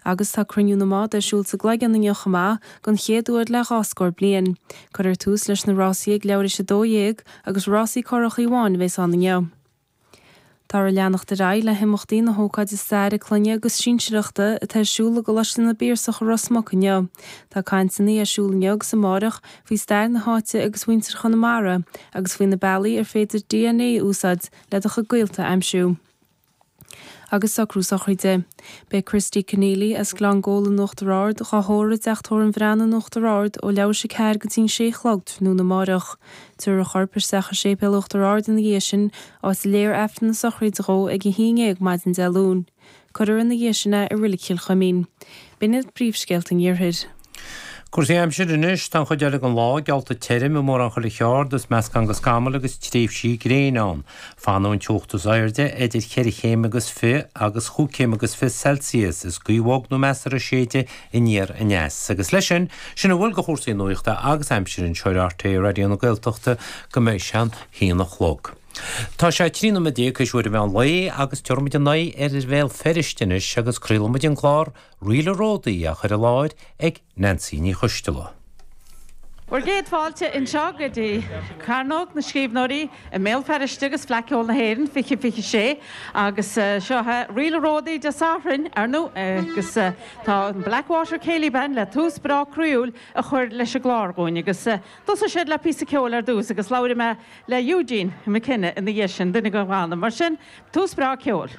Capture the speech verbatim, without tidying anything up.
Agus tá Cruinniú na mbád ar siúl sa gCloigeann inniu chomh maith, don chéad uair le dhá scór bliain. Cuirfear tús leis na rásaí ag leathuair tar éis a dó dhéag agus rásaí curach amháin a bheas ann inniu. Táthar ag leanacht ar aghaidh le himeachtaí na hócáide staire clainne agus sinsearachta atá ar siúl i gColáiste na bPiarsach i Ros Muc inniu. Tá cainteanna ar siúl inniu agus amárach faoi stair na háite agus mhuintir Chonamara agus faoi na bealaí ar féidir D N A a úsáid le do chuid gaolta a aimsiú. Agus socrú sochraide. Beidh Christy Keneally as Gleann Gabhla in Uachtar Ard á thórramh i dTeach Tórraimh an Bhreathnaigh in Uachtar Ard ó leathuair tar éis a ceathair go dtí an sé a chlog tráthnóna amárach. Tabharfar a chorp isteach i séipéal Uachtar Ard ina dhiaidh sin, áit a léifear Aifreann na sochraide dhó ag a haon déag maidin Dé Luain. Cuirfear ina dhiaidh sin é i Reilig Chill Chuimín. B'in iad príomhscéalta an iarthair. Cúrsaí aimsire anois. Tá an chuid eile den lá geallta tirim i mórán chuile cheard is meascán de scamaill agus tréimhsí gréine ann. Fanfaidh an teocht is airde idir cheithre chéim agus fiche agus chúig chéim agus fiche Celsius is gaoth bhog nó measartha ag séideadh aniar aneas. Agus leis sin, sin a bhfuil de chúrsaí nuachta agus aimsire anseo ar R T É Raidió na Gaeltachta go mbeidh sé an haon a chlog. Tá sé trí nóiméad déag théis uair an mheán lae agus tabharfaimid ár n-aghaidh ar Bhéal Feirste anois agus craolfaimid an clár Ríle Ródaí á chur i láthair ag Nancy Ní Choisteala. Bhur gcéad fáilte anseo go dtí Cearnóg na Scríbhneoirí i mBéal Feirste agus Fleadh Cheoil na hÉireann fiche fiche sé agus seo é Ríle Ródaí Dé Sathairn ar ndóigh agus tá an Blackwater Céilí Band le tús breá croíúil a chur leis an gclár dhúinn agus thosaigh siad le píosa ceoil ar dtús agus labhróidh mé le Eugene McKenna ina dhiaidh sin duine den bhanna mar sin tús breá ceoil.